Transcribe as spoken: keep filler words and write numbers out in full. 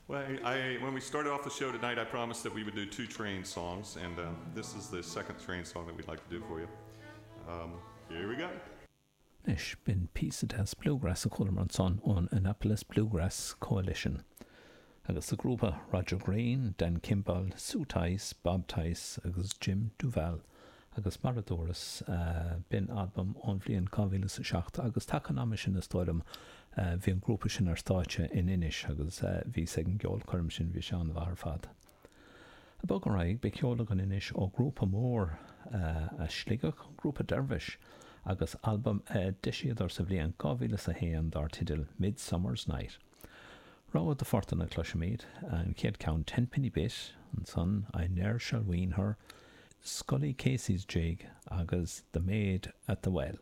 Well, I, I, when we started off the show tonight, I promised that we would do two train songs, and uh, this is the second train song that we'd like to do for you. Um, here we go. Anois b'in píosa deas bluegrass a chualamar ansan ón Annapolis Bluegrass Coalition. Agus sa grúpa Roger Green, Dan Kimball, Sue Tice, Bob Tice agus Jim Duval. agus mar a dúras b'in albam ón bhliain dhá mhíle is a seacht agus taca an ama sin is dóigh liom bhí an grúpa sin ar stáitse in Inis agus bhíos ag an gceolchoirm sin bhí sé an-mhaith ar fad. Ag bogadh ar aghaidh beidh ceol againn anois ó grúpa mór as Sligeach, grúpa Dervish, agus albam a d'eisíodar sa bhliain dhá mhíle is a haon dar teideal Midsummer's Night. Rogha de phortanna a chloisfimid, an chéad ceann Tenpenny Bit, ansan I Ne'er Shall Wean Her, Scully Casey's Jig agus The Maid at the Well.